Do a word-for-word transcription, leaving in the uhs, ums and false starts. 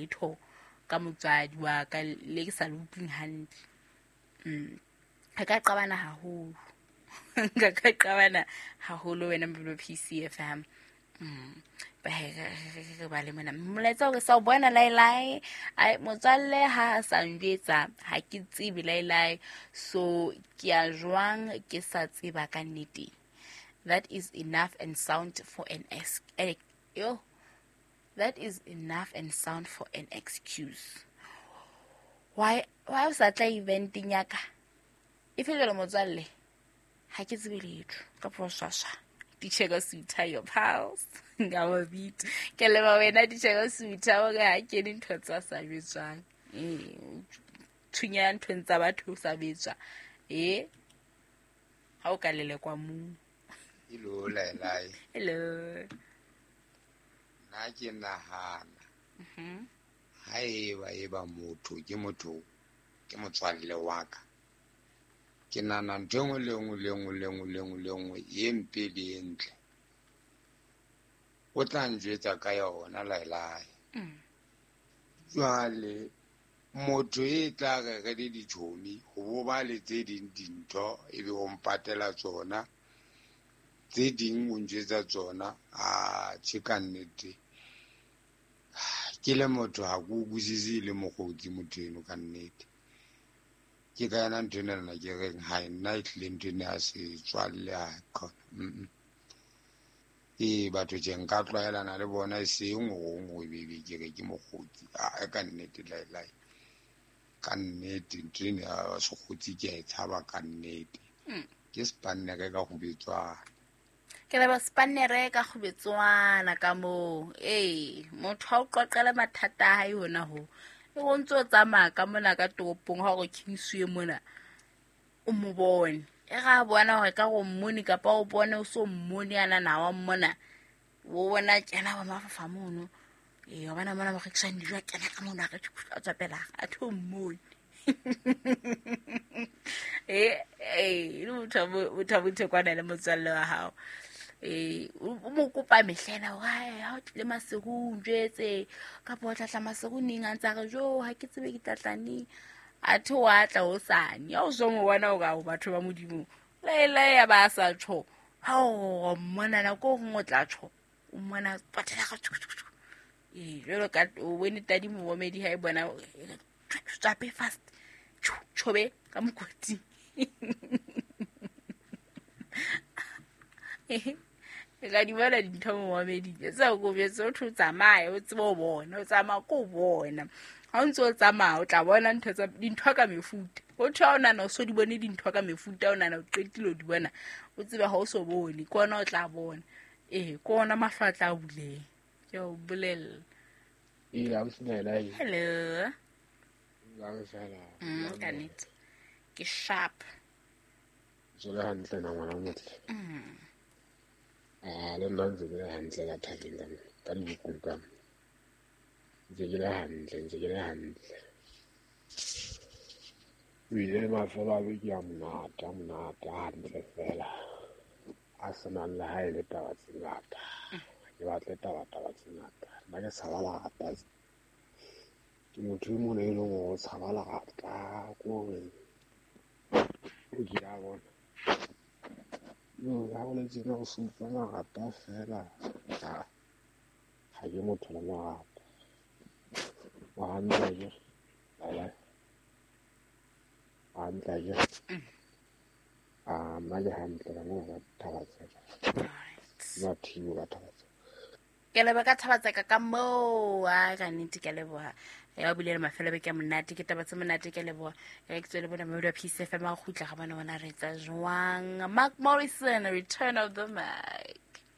letho ka motswadi wa ka le ke sa le utlwing hantle. Mm. Re ka qabana haholo. Ka ka qabana haholo wena Mobile P C F M. Mm. Ba he re ba le mona. Molaetsa o re sa o bona laelae. Ai motswalle ha a sa njwetsa ha ke tsebe laelae. So ke a jwang ke sa tseba ka nnete. That is enough and sound for an ex eh, yo. That is enough and sound for an excuse. Why why o sa tla eventing ya ka? E fela motswalle ha ke tsebe letho ka phoshasha. Ditshego suita your pals. Nga wa beat. Ke leba wena ditshego suita o ga ke dintho tsa sa betswang. Eh thunya nthong tsa batho sa betswa. Eh ha o ka lelekwa mo. Hello laelae. Hello. Nna ke nahana. Mhm. Ha eba eba motho ke motho ke motswalle wa ka. Ke nahana ntho e nngwe le nngwe le nngwe le nngwe le nngwe le nngwe e mpe le e ntle. O tla njwetsa ka yona laelae. Mm. Jwale motho e tla re re le ditjhomi ho bo ba le tse ding dintho ebe o mpatela tsona tse ding o njwetsa tsona a tjhe ka nnete. Ke le motho ha ke utlwisise le mokgotsi motho eno ka nnete. Ke ka yona ntho ena nna ke reng ha nna e tlile ntho ena ya setswalle ha khona. Mm. Ee batho tje nka tlwaelana le bona e seng hore o be ke re ke mokgotsi. A ka nnete laelae. Ka nnete ntho ena ya sekgotsi ke a e tshaba ka nnete. Mm. Ke spannere ka go betswana. Ke leba spannere ka go betswana ka moo. Ee, motho ha o qoqela mathata a hae hona ho. E o ntso tsamaya ka mona ka toropong ha o re Kingsway mona o mo bone. E ga bona hore ka go mmone kapa o bone o so mmone ana na wa mmona. O bona kena ba mafafa mono. Ee, wa bona mona ba rekisang dijo a kena ka mono a re a tswa pela a tho mmone. Eh eh le motho motho motho kwana le motswalle wa hao. Eh o mo kopa mehlena hore ha o tlile masiu o njwetse kapa o tla tla masiu neng a ntsa re jo ha ke tsebe ke tla tla neng. A the wa tla hosane ya o so mo bona hore o batho ba Modimo laelae ya ba sa tjho ha o mmona nako e nngwe o tla tjho o mmona patela ka tjho tjho. Eh jwalo ka o bone tadi momedi ha e bona tsape fast tjho tjhobe ka mokoti. E ka di bona dintho momedi tsa go betse o tho tsamaya o tsebe o bona o tsamaya ko bona. Ha o ntse o tsamaya o tla bona ntho tsa dintho ka mefuta. O tho o nana o so di bone dintho ka mefuta o nana o qetile o di bona o tsebe ha o so bone ke ona o tla bona. Eh ke ona mahlo a tla buleng. Ke o bolella. Ee, ausi Laelae. Hello. Mm, ka nnete. Ke sharp. Tswele hantle na ngwana o motle. Mm. Ah, le nna ntse ke le hantle ka thabeng ka mona, ka dibukung ka mona. Ntse ke le hantle, ntse ke le hantle. Ebile mafelo a beke a monate, a monate, a hantle fela. A senang le ha e le taba tse ngata. Ha ke batle taba taba tse ngata. Nna ke tshaba lerata. Ke motho e mong e leng hore o tshaba lerata, ke hore o ke a bona. Yo, ha o le tjena o se utlwa marata fela. Ha, ha ke motho le marata. Wa hantle akere? Laelae. Wa hantle akere? Ah, nna ke hantle ka mona ka Thabatseka. Mathibo ka Thabatseka. Ke leboha ka Thabatseka ka moo. Ai ka nnete ke leboha. Ya bile le mafelo beke a monate ke taba tse monate ke leboha. Re ke tswele bona Mobile wa P C F M a kgutla ga bona bona re tsa jwang. Mark Morrison, Return of the Mac.